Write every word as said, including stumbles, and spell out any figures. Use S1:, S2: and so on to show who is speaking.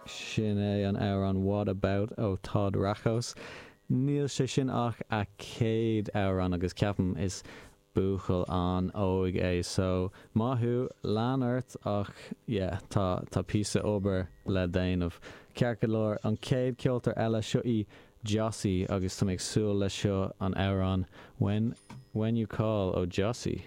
S1: Sin é an amhrán What About ó Todd Rachos. Níl sé sin ach a chéad amhrán agus ceapaim is buachaill an-óg é so maith thú lean ort ach yeah, tá tá píosa obair le déanamh. Ceart go leor an chéad ceoltóir eile seo í Jossie agus tá ag súil le seo an amhrán When When You Call ó Jossie.